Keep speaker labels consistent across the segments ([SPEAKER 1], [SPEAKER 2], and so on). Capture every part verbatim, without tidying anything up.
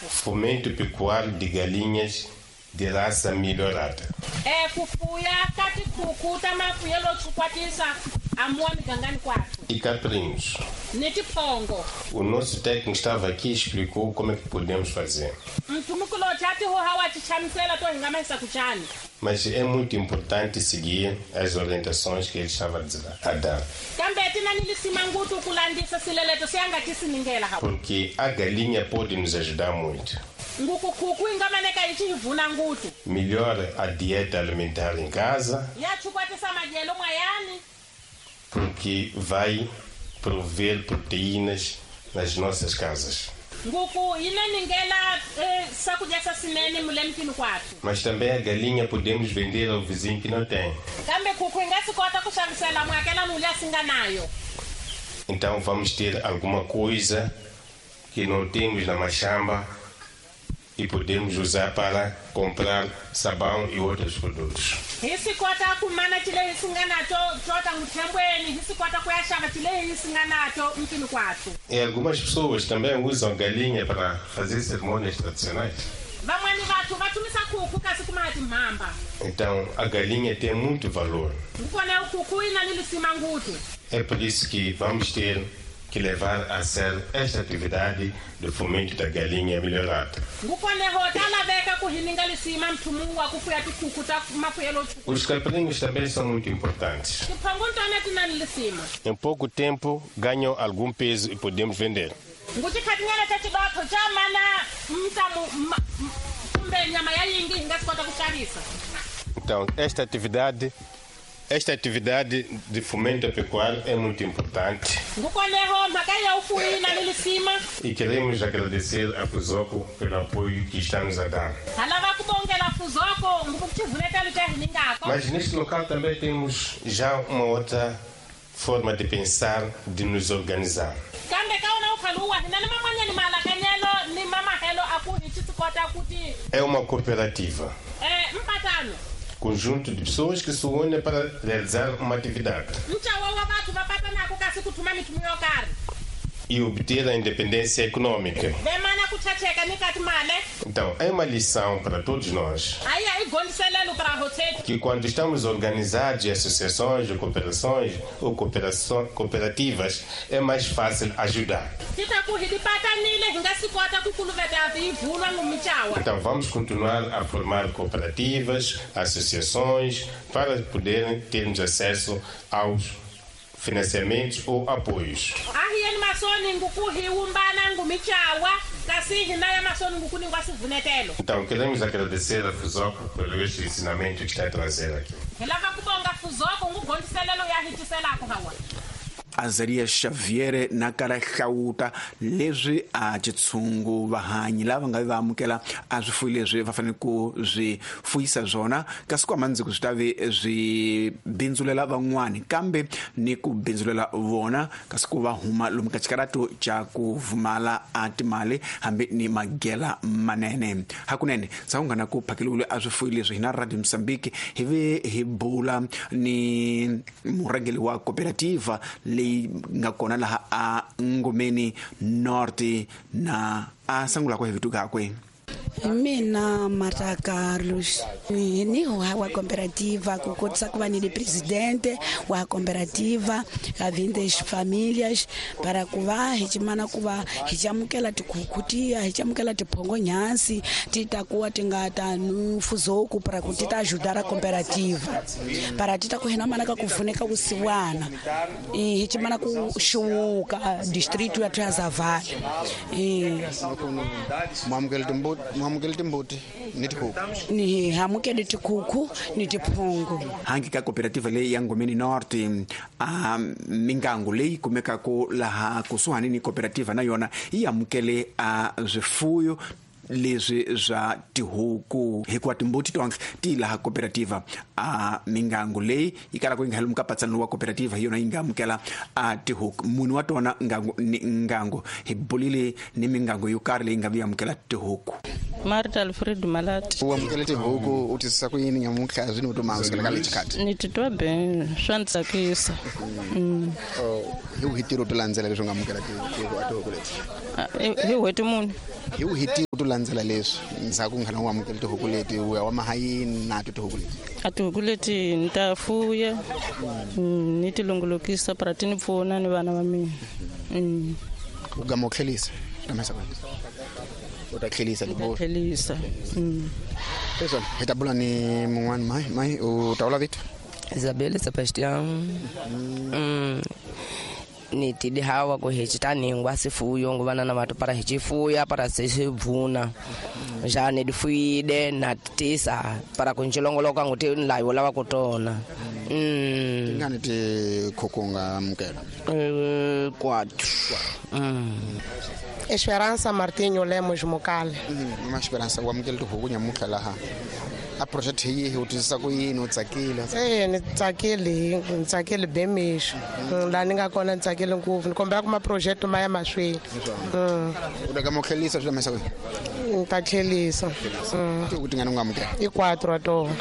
[SPEAKER 1] Fomento pecuário de galinhas de raça melhorada.
[SPEAKER 2] É kufuya kati kukuta mafuyelo chukwatisa amua migangani kwathu.
[SPEAKER 1] E caprinos.
[SPEAKER 2] Netipongo.
[SPEAKER 1] O nosso técnico estava aqui e explicou como é que podemos fazer. Mas é muito importante seguir as orientações que ele estava a dar. Porque a galinha pode nos ajudar muito. Melhora a dieta alimentar em casa, porque vai prover proteínas nas nossas casas. Mas também a galinha podemos vender ao vizinho que não tem. Então vamos ter alguma coisa que não temos na machamba e podemos usar para comprar sabão e outros produtos. E algumas pessoas também usam galinha para fazer cerimônias tradicionais. Então a galinha tem muito valor. É por isso que vamos ter que levar a sério esta atividade do fomento da galinha melhorada. Os caprinos também são muito importantes. Em pouco tempo ganham algum peso e podemos vender. Então, esta atividade Esta atividade de fomento pecuário é muito importante. E queremos agradecer a Fuzoco pelo apoio que está nos a dar. Mas neste local também temos já uma outra forma de pensar, de nos organizar. É uma cooperativa. Conjunto de pessoas que se unem para realizar uma atividade e obter a independência econômica. Então, é uma lição para todos nós que quando estamos organizados em associações ou cooperações ou cooperações, cooperativas, é mais fácil ajudar. Então, vamos continuar a formar cooperativas, associações, para poderem termos acesso aos financiamentos ou apoios. Então, queremos agradecer a Fuzoco pelo este ensinamento que está a trazer aqui.
[SPEAKER 3] Azaria Xavier na kala hlawuta leswi a tshungu vahanyi lava nga va amukela a swifuwo leswi va fanele ku swi fuyisa swona kasi ku amandziko swi ta ve swi bindzulela van'wani kambe ni ku bindzulela vona kasi ku va huma lomu ka xikaratu xa ku vumala a timali hambi ni magela manene hakunene sawungana ku phakeliwile a swifuwo leswi hina Radio Mozambique hi ve hi bula ni murhangeri wa cooperativa leyi nga kona laha a Ngomeni North na a sangula ku hi vito kakwe.
[SPEAKER 4] Mina Marta Carlos ni wa cooperativa ku kotisa ku va ni presidente wa cooperativa ka vintes famílias para ku va hi chimana ku va hi chamukela tikhukhu tiya hi chamukela tiphongo nyansi ti ta kuwa ti nga ta Fuzoco para ku ti ta ajudar a cooperativa para ti ta ku hina mana ka ku pfuneka kusiwana hi chimana ku xuwuka distrito ya Zavala eh
[SPEAKER 5] mamukela timbuti mamukela timbuti ni tikhukhu
[SPEAKER 4] ni hamukele tikhukhu ni tiphongo
[SPEAKER 3] hangi ka cooperativa leyi ya Ngomeni North a mingangu leyi kumekaka laha kusuhani ni cooperativa na yona yi amukele a swifuyo leswi swa tihuku hikuva timbuti tonke ti laha cooperativa a mingangu leyi yi kalaka yi nga heli mukapatsano wa cooperativa hi yona yi nga amukela a tihuku munhu wa tona ngangu ni ngangu hi bulile ni mingangu yo karhi leyi nga vi amukela tihuku.
[SPEAKER 6] Marta Alfred Malati
[SPEAKER 5] u amukele tihuku u twisisa ku yini nyamuntlha zwino u to maamukela ka lexi khati
[SPEAKER 6] ni titwa ben swa ni tsakisa.
[SPEAKER 5] Hi ku hi tirho to landzela leswi u nga amukela tihuku leti
[SPEAKER 6] hi n'hweti muni
[SPEAKER 3] Hi u hiti ku landzela leswi ndzhaku nghana u amukela tihuku leti u ya wa mahayini na tihuku leti.
[SPEAKER 6] A tihuku leti ni ta fuya ni ti longolokisa para ti ni pfuna ni vana va mina.
[SPEAKER 3] U gama u tlhelisa tamesa u ta tlhelisa
[SPEAKER 6] libo tlhelisa.
[SPEAKER 3] Leswi hi ta bula ni mun'wana mai mai u ta vula vito
[SPEAKER 7] Isabelle Sebastian. Mm. Ni tidi hawa ku hi chitaningwa sifuyo nguvana na watu para hichifuya para sisivuna jane difuide na tisa para kunchilongoloka nguti nlayo lava kutona. Mm.
[SPEAKER 3] Tingani ti khukunga amukela
[SPEAKER 7] eh quatro. Mm.
[SPEAKER 8] Esperança Martinho Lemos Mokale.
[SPEAKER 3] Mm, ma Esperança wa amukela tihuku nyamutlha laha. A project yi hi u twisisa ku yini u tsakile?
[SPEAKER 8] Eh ni tsakile, ni tsakile bemixo. La ni nga kona ni tsakile ngopfu. Ni kombela ku ma project ma ya mahlweni.
[SPEAKER 3] U ta kama u tlhelisa swi lamesa ku?
[SPEAKER 8] Ni ta tlhelisa.
[SPEAKER 3] Tihuku tingani u nga amukela?
[SPEAKER 8] I quatro wa tona.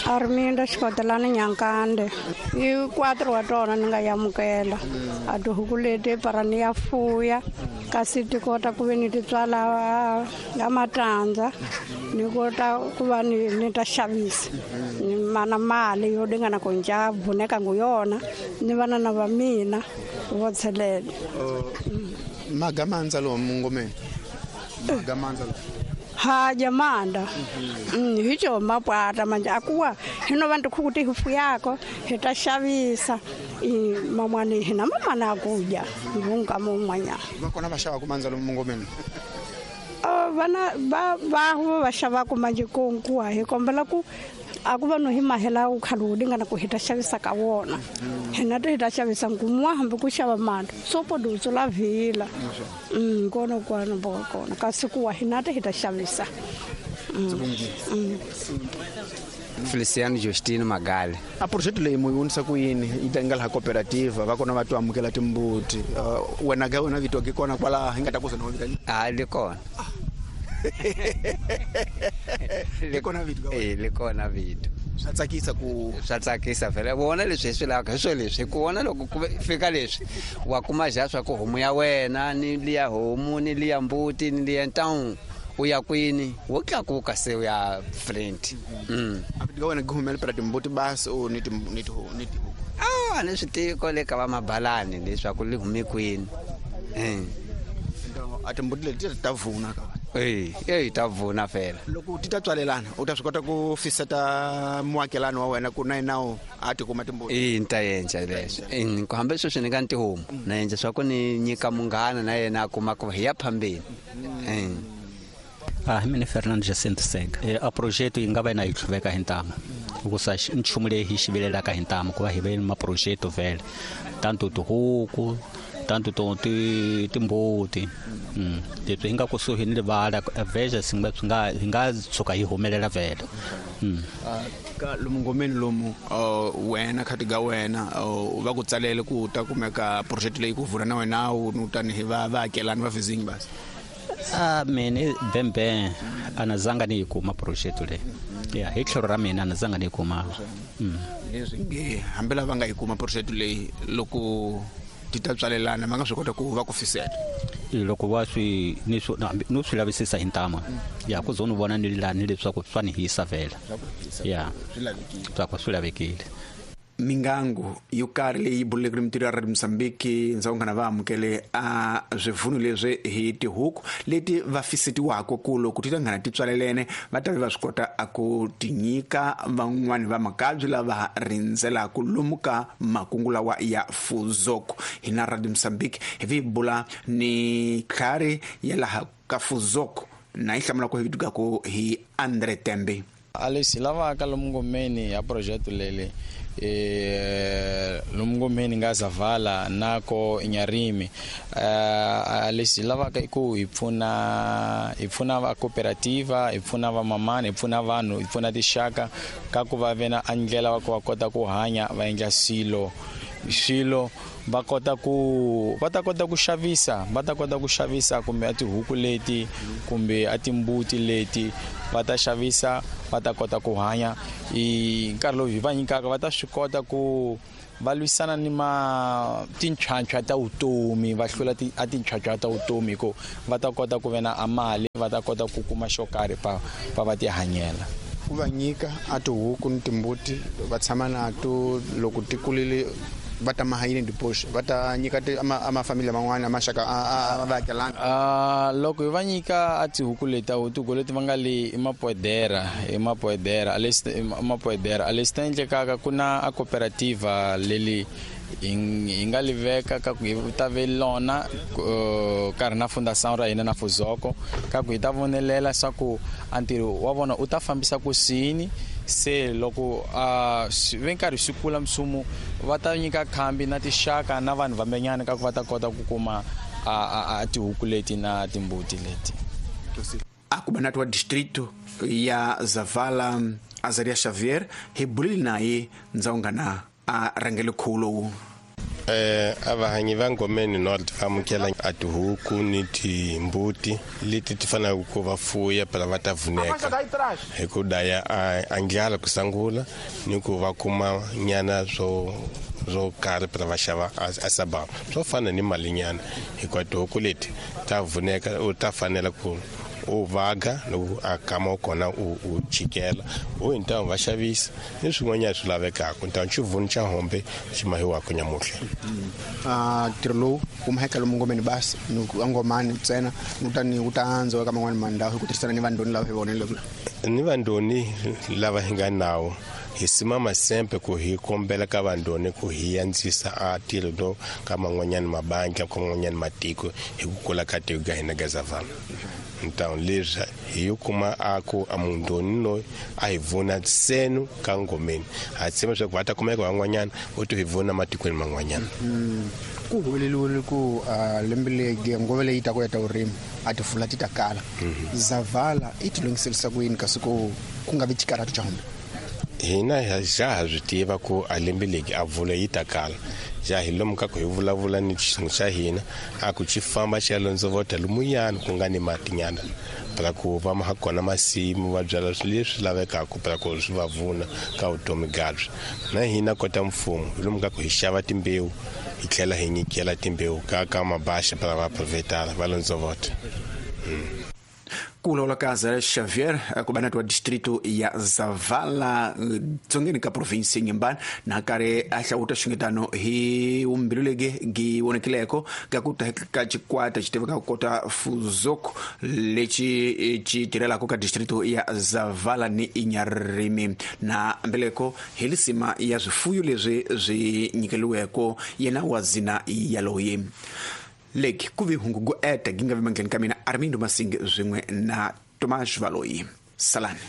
[SPEAKER 9] Arminda Xikotelani Nyankande. I quatro wa tona ni nga yamukela. A tihuku leti para ni ya fuya kasi ti kota ku ve ni ti tswala ya matandza ni kota ku va ni ni ta xavisa ni mana mali yo dingana ku nja vuneka ngu yona ni vana na va mina vo tshelela.
[SPEAKER 3] Magamandza lomu ngomeni magamandza
[SPEAKER 9] ha jamanda mm hicho mapwata manje akuwa hino vantu khukuti hufuyako hi ta xavisa i mamwani hina mamana kuja ngunga mumwanya
[SPEAKER 3] va kona va xava kumandza lomu ngomeni.
[SPEAKER 9] Uh, vana va va va xava ku manje konkuwa hi kombela ku a ku va no hi mahela u khalu dingana ku hi ta xavisa ka wona hina ti hi ta xavisa ngumwa hambi ku xava mali so podutso la vila mm kona kwana bo kona kasi ku wa hina ti hi ta xavisa.
[SPEAKER 10] Feliciano Justino Magali.
[SPEAKER 3] A project leyi mu yonisa ku yini yi ta nga laha cooperative va kona va to amukela timbuti wena ga wena vito ke kona kwala hi nga ta ku zona vitani?
[SPEAKER 10] Ah le kona.
[SPEAKER 3] Le kona vito.
[SPEAKER 10] Eh le kona vito.
[SPEAKER 3] Swa tsakisa ku
[SPEAKER 10] swa tsakisa vele vona leswi hi swi lavaka hi swo leswi ku vona loko ku fika leswi wa kuma ja swa ku homu ya wena ni liya homu ni liya mbuti ni liya ntawu u ya kwini wo tlakuka se u ya friend. Mm.
[SPEAKER 3] A vito wena gumela para timbuti basi o ni ni ni tihuku.
[SPEAKER 10] Ah ni swi tiko le ka va mabalani leswaku li hume kwini. Eh.
[SPEAKER 3] A timbuti leti ta vuna ka.
[SPEAKER 10] Eh, eh ta vuna fela.
[SPEAKER 3] Loko ti ta tswalelana u ta swi kota ku fiseta muakelani wa wena ku na yena a ti kuma timbuti.
[SPEAKER 10] Eh ni ta endla leswo. Eh ku hambi sweswi ni nga ni tihomu na endla swa ku ni nyika munghana na yena a kuma ku hi ya phambeni. Eh.
[SPEAKER 11] Ah, mina Fernando Jacinto Sega. E, a projeto yi nga va na yi tlhuveka hi ntamu. Hikusa nchumu leyi hi xivilelaka hi ntamu ku va hi ve ni maprojeto vhele. Tanto tihuku, tanto to ti timbuti. Mm. Leswi hi nga kusuhi ni rivala veja swi nga swi nga hi nga tshuka hi humelela vhele. Mm.
[SPEAKER 3] Ka lomu ngomeni lomu wena khati ga wena va ku tsalele ku ta kumeka project leyi ku vula na wena u tanihi va vaakelani va vizingi basi.
[SPEAKER 11] Ah mina bembe anazanga ni kuma projeto le. Ya hi tlhelo ra mina anazanga ni kuma. Mm.
[SPEAKER 3] Leswi nge hambi lava nga yi kuma projeto leyi loko ti ta tswalelana va nga swi kota ku va ku fisela.
[SPEAKER 11] Loko va swi ni swi no swi lavisisa hi ntama. Ya ku zona vona ni lani leswaku swa ni hisa vhela. Ya. Swa ku swi lavekile.
[SPEAKER 3] Mingangu yo karhi leyi buleke ni mintirho ya Radio Mozambique ndzhaku nghana va amukele a swivunu leswi hi tihuku leti va fisetiwaka ku loko ti ta nghana ti tswalelene va ta va swi kota a ku ti nyika van'wani va makabyi lava rindzelaka lomu ka makungu lawa ya Fuzoko. Hina Radio Mozambique hi vi bula ni tlhari ya laha ka Fuzoko na yi hlamula ku hi vitukaku hi Andre Tembe.
[SPEAKER 12] A leswi lavaka lomu ngomeni ya project leli eh lumngomeni nga zavala nako inyarimi eh lexi lavaka ku hi pfuna hi pfuna va cooperativa hi pfuna va mamani hi pfuna vanhu hi pfuna tixaka ka ku va vena andlela va ku va kota ku hanya va endla swilo swilo va kota ku va ta kota ku xavisa va ta kota ku xavisa kumbe a tihuku leti kumbe a timbuti leti va ta xavisa va ta kota ku hanya i nkarhi lowu hi va nyikaka va ta swi kota ku va lwisana ni ma tinchwanchwa ta vutomi va hlula a tinchwanchwa ta vutomi ku va ta kota ku ve na mali va ta kota ku kuma xo karhi pa pa va ti hanyela.
[SPEAKER 5] Ku va nyika a tihuku ni timbuti va tshama nato loko ti kulile va ta mahayini diposh va ta nyika a mafamili man'wana a maxaka a vaakelani.
[SPEAKER 12] Loko hi va nyika a tihuku leti tihuku leti va nga le i mapoedera i mapoedera i mapoedera a leswi ta endlekaka ku na a cooperativa leli hi nga li veka ka ku hi ta ve lona karhi na fundação ra hina na Fuzoko ka ku hi ta vonelela swa ku a ntirho wa vona u ta fambisa ku sini se loko a ve nkarhi swi kula msumo va ta nyika khambi na tixaka na vanhu vambenyana ka ku va ta kota ku kuma a tihuku leti na timbuti leti.
[SPEAKER 3] Akubanatu wa distrito ya Zavala Azaria Xavier hi bulile naye ndzawungana a rhangele khulo.
[SPEAKER 1] Eh avahanyi va Ngomeni North va amukela a tihuku ni timbuti leti ti faneleke ku va fuya phela va ta vuneka hi ku daya a ndlala ku sungula ni ku va kuma nyana swo swo karhi phela va xava a sababa swo fana ni malinyana hikuva tihuku leti ta vuneka u ta fanela ku u vaga loko a kama kona u u chikela u hintamu va xavisa ni swin'wanyana swi lavekaka ntamu xivuni xa hombe xi mahiwaka nyamuhla.
[SPEAKER 5] A ntirho lowu wu maheka lomu ngomeni basi ni angomani ntsena ni ta ni wu ta andzwa ka man'wani mandhawu hi ku tirhisana ni vandoni lava hi vonile
[SPEAKER 1] ni vandoni lava hi nga nawo hi simama sempe ku hi kombela ka vandoni ku hi andzisa a ntirho lowu ka man'wanyana mabandla ka man'wanyana matiko hi ku kula ka tiko ka hina ka Zavala. Então leswi hi kuma a ku a mundoni loyi a hi vona senu ka Ngomeni ha tshemba leswaku va ta kumeka van'wanyana vo to hi vona matikweni man'wanyana.
[SPEAKER 5] Ku humeleliwile ku lembe leyi ngove leyi ta ku ya ta vurimi a tifula ti ta kala Zavala i ti lunghiselisa ku yini kasi ku ku nga vi xikarhatu xa hombe?
[SPEAKER 1] Hina ja ha swi tiva ku a lembe legi a vula yi ta kala ja hi lomu ka ku hi vulavula ni xinhu xa hina a ku xi famba xi ya londzovota lumuyani ku nga ni matinyana phela ku va ma kona masimu va byala swilo leswi lavekaka phela ku swi va vuna ka vutomi bya na hina kota mfumo hi lomu ka ku hi xava timbewu hi tlhela hi nyikela timbewu ka ka mabaxa phela va provetara va londzovota.
[SPEAKER 3] Ku vulavula ka Azaria Xavier kubanatu wa distrito ya Zavala dzongeni ka provinsi ya Inhambane na karhi a hlawuta xingetano hi vumbilu legi gi vonekileko ka ku ta ka xikwata xi tivekaka kota Fuzoko lexi xi tirhelaka ka distrito ya Zavala ni Inharime na mbeleko hi lisima ya swifuyo leswi swi nyikeliweko yena wa zina yaloye. Leki kuvi hungu go eta ginga vimangeni kamina Armindo Masinge zwingwe na Tomas Valoyi. Salani.